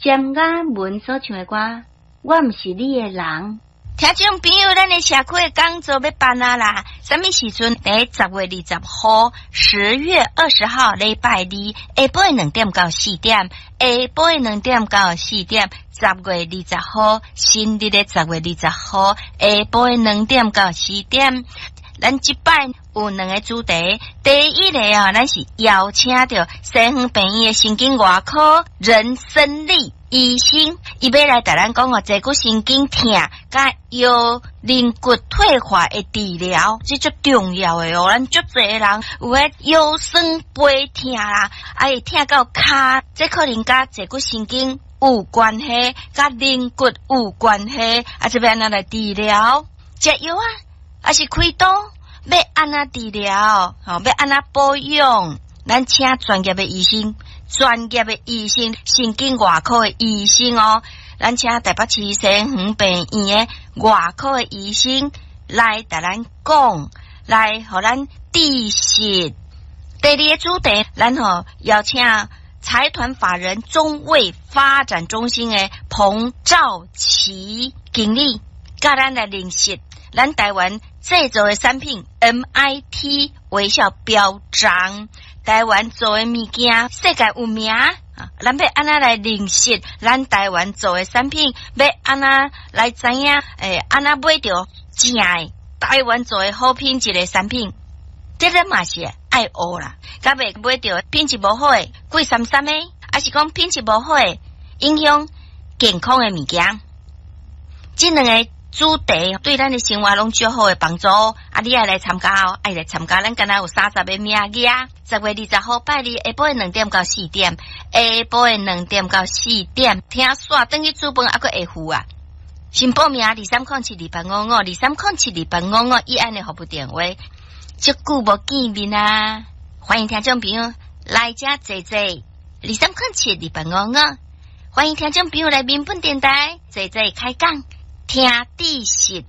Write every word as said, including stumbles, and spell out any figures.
詹雅雯所唱的歌，我毋是你的人。聽眾朋友，咱的社區的講座欲辦啊啦！啥物時陣？佇十月二十號，十月二十號禮拜二下晡兩點到四點，下晡兩點到四點。十月二十號，新曆的十月二十號，下晡兩點到四點。咱這擺有兩个主題，第一个啊，咱是邀請著西園病院的神經外科任森利醫生，伊欲來共咱講哦，坐骨神經痛佮腰軟骨退化的治療，這足重要的哦。咱足濟人有彼腰酸背痛啦，啊會疼到跤，這可能佮坐骨神經有關係，佮軟骨有關係，啊，這欲按怎來治療？食藥啊，抑是開刀？欲按怎治療？吼，欲按怎保養？咱請專業的醫生，專業的醫生，神經外科的醫生哦。咱請台北市西園病院的外科的醫生來共咱講，來予咱知識。第二个主題，咱吼邀請財團法人中衛發展中心的彭兆奇經理，佮咱來認識咱台灣製造的產品 M I T 微笑標章，台灣做的物件世界有名啊！咱欲按怎來認識咱台灣做的產品？欲按怎來知影？欸，按怎買著正的台灣做的好品質的產品？這咱嘛是愛學啦，才袂買著品質無好的貴三三的，抑是講品質無好的影響健康的物件。這兩个主題對咱的生活攏足好的幫助，啊！你愛來參加哦，愛來參加，咱敢若有三十个名額。十月二十號拜二下晡兩點到四點，下晡兩點到四點，聽煞轉去煮飯猶閣會赴啊！先報名二三空七二八五五，二三空七二八五五，以案的服務電話。足久無見面啊！歡迎聽眾朋友來遮坐坐，二三空七二八五五，歡迎聽眾朋友來民本電台坐坐開講。聽知識。